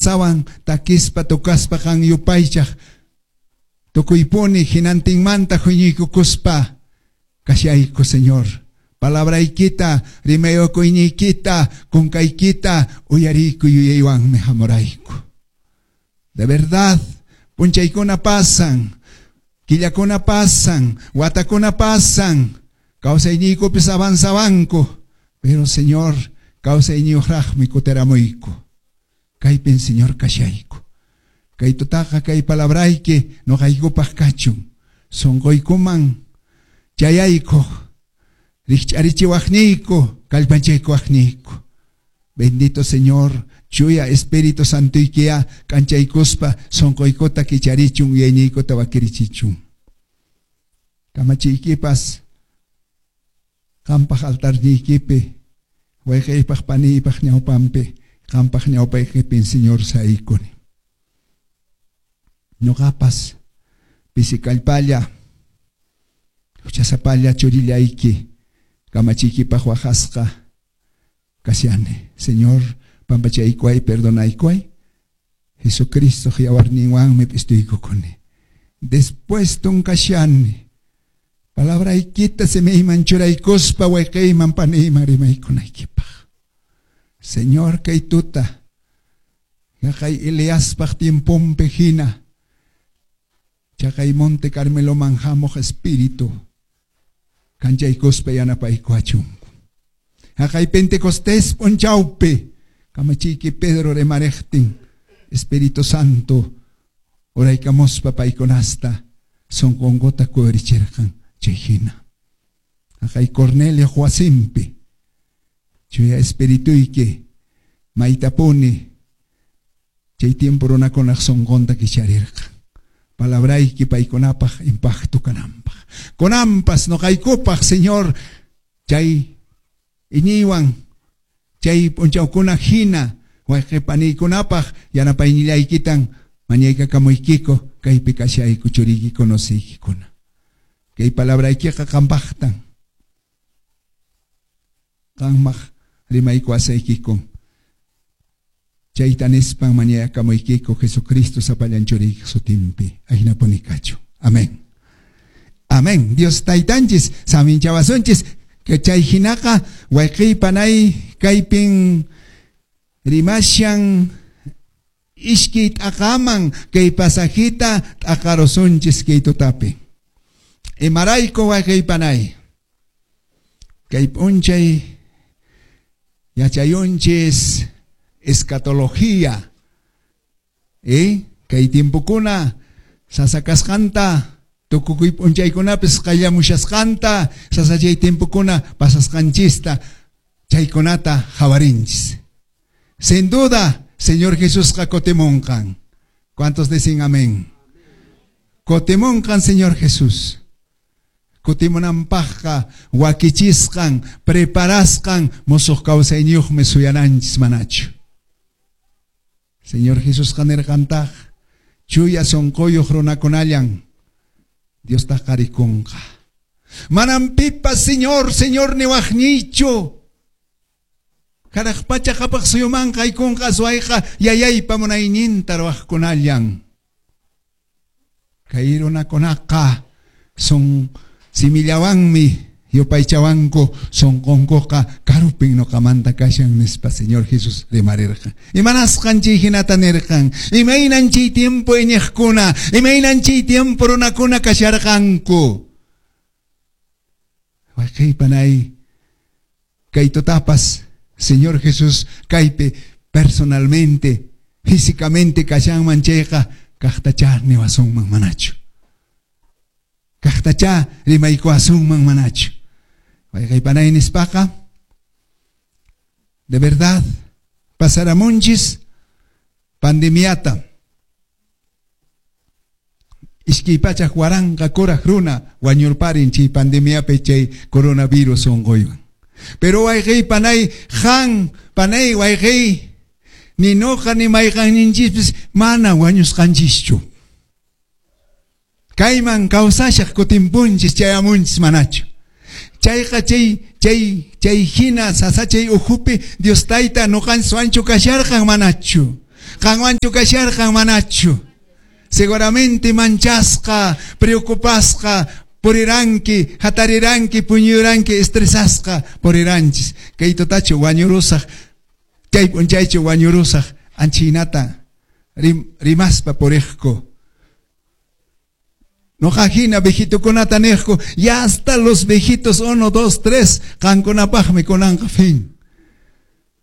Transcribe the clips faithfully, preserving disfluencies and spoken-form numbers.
Alabanzawan takispa tocaspa qan yupaychaq tukuypuni hinantinmanta huñuykukuspa kashayku, Señor. Palabraykita, rimayukuyniykita, kunkaykita uyariyku yuyaywanmi hamurayku. De verdad, punchaykuna pasan, killakuna pasan, watakuna pasan, kawsayniykupis avanzawanku, pero Señor, kawsayniyuqraqmi kutiramuyku. Kaypin, Señor, kashayku. Kay tutaqa kay palabrayki nuqaykupaq kachun. Sunquykuman chayayku, rikch'arichiwaqniyku, kallpanchaykuwaqniyku. Bendito Señor, chuya Espíritu Santoykiya k'anchaykuspa sunquykuta kicharichun, yuyayniykuta wakirichichun. Kamachiykipas qampaq altarniykipi, wayqiypaq paniypaq ñawpanpi, qampaq ñawpaykipin, Señor, saykuni. Ñuqapas pisi kallpalla, huchasapalla churillayki, kamachiykipaq waqasqa kashani. Señor, pampachaykuway, perdonaykuway. Jesucristo yawarninwanmi p'istuykukuni. Después kashani. Palabraykita simiyman churaykuspa wayqiyman paniyman rimaykunaykipaq. Señor, kay tuta, yaqay Eliaspaq tiemponpi hina, chaqay Monte Carmeloman hamuq espíritu, kanchaykuspa yanapaykuwachunku. Haqay Pentecostés p'unchawpi, kamachiyki Pedro rimariqtin, Espíritu Santo uraykamuspa paykunasta sunqunkuta kuyurichirqan chay hina. Haqay Cornelio wasinpi, chuya espirituyki maytapuni chay tiempo runakunaq sunqunta kicharirqan. Palabrayki paykunapaq impacto kananpaq. Kunanpas nuqaykupaq, Señor, chay iñiywan chay p'unchawkuna hina wayqi paniykunapaq yanapaynilaykitan mañaykakamuykiku kaypi kashayku churiyki conociykikuna. Kay palabraykiqa qampaqtan. Qanmaq rimaykuwasaykikun. Chayta nispan mañayakamuykiko Jesucristo sapallan churiyki sutinpi. Ahinapuni kachu. Amén. Amén. Dios taytanchis, saminchawasunchis, que chay hinaqa wayqiy panay kaypin rimashan ishkay t'aqaman kay pasajita t'aqarusunchis kay tutapi. Imarayku wayqiy panay. Kay p'unchay yachayunchis escatología. Eh? Kay tiempokuna sasakasqanta tukukuy p'unchaykunapis qallamushasqanta sasachay tiempokuna pasasqanchista chaykunata hawarinchis. Sin duda, Señor Jesusqa kutimunqan. ¿Cuántos dicen amén? Kutimunqan, Señor Jesús. Kutimunanpaqqa wakichisqan, preparasqan musuq kawsayniyuqmi suyananchis manachu. Señor Jesusqa nirqantaq chuya sunquyuq runakunallan Diostaqa rikunqa. Manam pipas Señor, Señor niwaqniychu. Hanaq pacha qhapaq suyumanqa haykunqa aswayqa yayaypa munayninta ruwaqkunallan. Kay runakunaqa son simillawanmi yupaychawanku sunqunkuqa karupin nuqamanta kashan nispa Señor Jesús rimarirqan. Imanasqan chay hinata nirqan? Imaynan chay tiempo iñiqkuna, imaynan chay tiempo runakuna kasharqanku. Wayqiy panay, kay tutapas Señor Jesús kaypi personalmente, físicamente kashanman chayqa kaqtacha niwasunman manachu. Kaqtacha rimaykuwasunman manachu. Wayqiy panay nispaqa, de verdad, pasaramunchis pandemiata. Iskay pachak waranqa kuraq runa wañurparin chay pandemiapi chay coronavirus unquywan. Pero wayqiy panay, qan panay wayqiy, ni nuqa ni mayqanninchispis mana wañusqanchischu. Kayman kawsashaq kutimpunchis chayamunchis manachu. Chayqa chay chay chay hina sasachay ukhupi Dios tayta nuqanchis wanchu kasharqan manachu. Qanwanchu kasharqan manachu? Seguramente manchasqa, preocupasqa, puriranki, hatariranki, puñuranki, estresasqa puriranchis. Kay tutachu wañurusaq, chay p'unchaychu wañurusaq, anchinata rim, rimaspa puriqku. Noqa hina viejitokunata niqku, ya hasta los viejitos uno, dos, tres, qankunapaqmi kunanqa fin.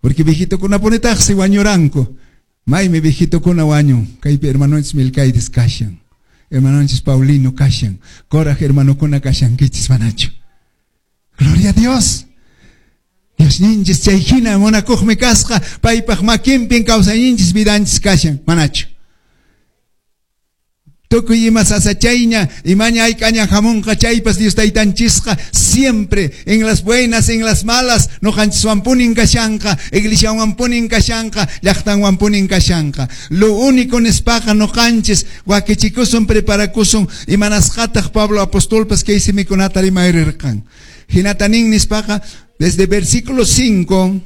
Porque viejitokunapunitaqsi wañuranku. Maymi viejitokuna wañun, kaypi hermanonchis Milcaides kashan, hermanonchis Paulino kashan, koraj hermanokuna kashankichis manachu. Gloria a Dios. Diosninchis chay hina munakuqmi kasqa, paypaq makinpin kawsayninchis vidanchis kashan, manachu. Tukuy ima sasachayña, imaña hayk'aña hamunqa chaypas Dios taytanchisqa siempre en las buenas, en las malas, noqanchiswanpunin kashanqa, iglesiawanpunin kashanqa, llaqtanwanpunin kashanqa. Lo único nispaqa noqanchis wakichikusun, preparakusun, imanasqataq Pablo apostolpas kay simikunata rimayrirqan. Hinata nin nispaqa desde versículo cinco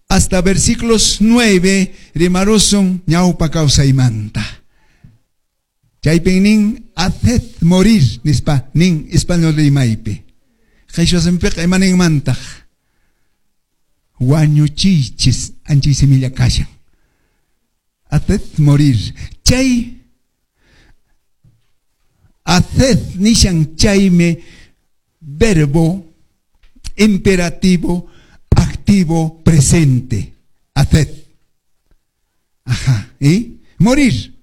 hasta versículos nueve rimarusun ñawpa kawsaymanta. Chaypin nin haced morir nispa nin español rimaypi. Qhichwa simipiqa imaninmantaq? Wañuchiychis anchay similla kashan. Haced morir. Chay haced nishan chaymi verbo imperativo activo presente. Haced. Ajá. ¿Y? Morir.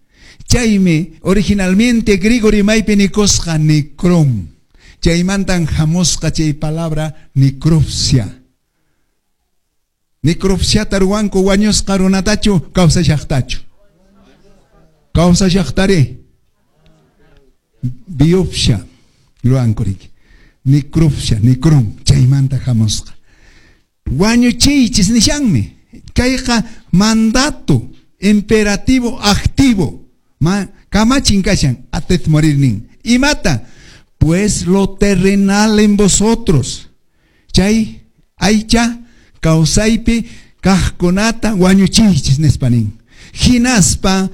Chaymi originalmente griego rimaypi nikusqa necrom. Chaymantan hamusqa chay palabra necropsia. Necropsiata ruwanku wañusqa runatachu kawsashaqtachu. Kawsashaqtari. Biopsia ruwanku riki. Necropsia, necrom, chaymanta hamusqa. Wañuchiychis nishanmi. Kayqa mandato imperativo activo. Ma, kamachin kashan, haced morir nin. Imata, pues lo terrenal en vosotros. Chay, aycha, kawsaypi, kaqkunata, wañuchiychis nispa nin. Hinaspa,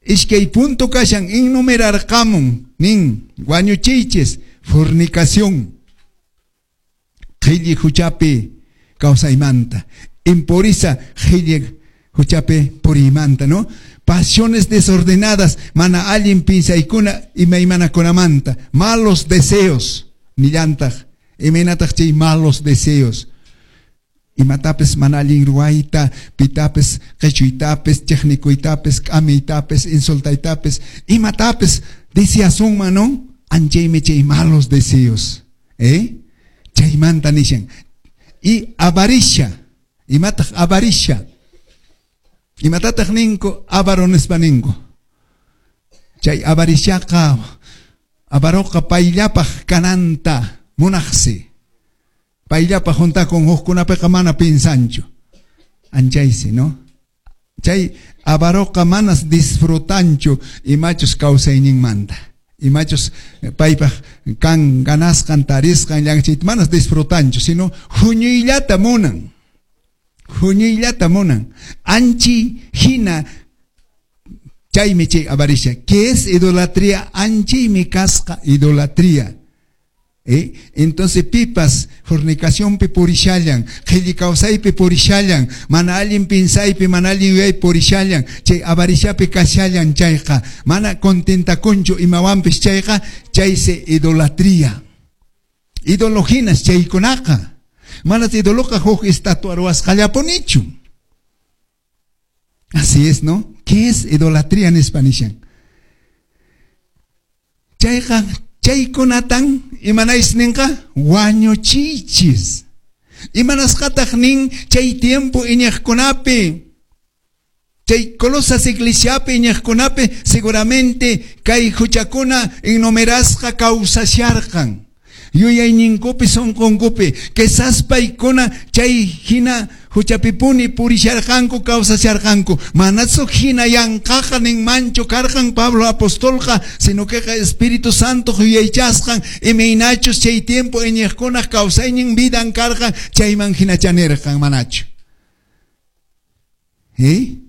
iskay punto kashan, enumerarqamun, nin, wañuchiychis, fornicación, qhilli huchapi kawsaymanta, impureza, qhilli huchapi puriymanta, ¿no? Pasiones desordenadas, mana allin pinsaykuna imaymanakunamanta, malos deseos, nillantaq, imaynataq chay malos deseos. Imatapis mana allin ruwayta, pitapis qichuytapis, chiqnikuytapis, k'amiytapis, insultaytapis, imatapis deseasunman, ¿no? Anchaymi chay malos deseos, ¿eh? Chaymanta nishan. Y avaricia, imataq avaricia. Imatataq ninku avaro nispa ninku. Chay avariciaqa avaroqa payllapaq kananta munaqsi. Payllapaq juntakun hukkunapiqa mana pinsanchu. Anchaysi, ¿no? Chay avaroqa manas disfrutanchu imachus kawsayninmanta. Imachus paypaq kan ganasqan tarisqan llankchayta manas disfrutanchu, sino huñuyllata munan. Huñuyllata munan. Anchi hina chaymi chay avaricia. ¿Qué es idolatría? Anchaymi kasqa idolatría. ¿Eh? Entonces pipas fornicacionpi purishallan, qhilli kawsaypi purishallan, mana allin pinsaypi, mana allin yuyaypi purishallan, chay avariciapi kashallan chayqa, mana contentakunchu imawanpis chayqa, chaysi idolatría. Idolojinas chaykunaqa. Mana idoloqa huk estatua ruwasqallapunichu. Así es, ¿no? ¿Qué es idolatría nispa nishan? Chayqa chaykunatan imanaysi ninqa wañuchiychis. Imanasqataq nin chay tiempo iñiqkunapi, chay Colosas iglesiapi iñiqkunapi seguramente kay huchakuna enumerasqa kawsasharqan. Yuyayninkupi sunqunkupi quizás paykuna chay hina huchapipuni purisharqanku kawsasharqanku. Manachu hina yanqaqa ninmanchu karqan Pablo apostolqa, sino queqa Espíritu Santo yuyaychasqan imaynachus chay tiempo iñiqkunaq kawsaynin vidan karqan chayman hinachanirqan manachu. Eh?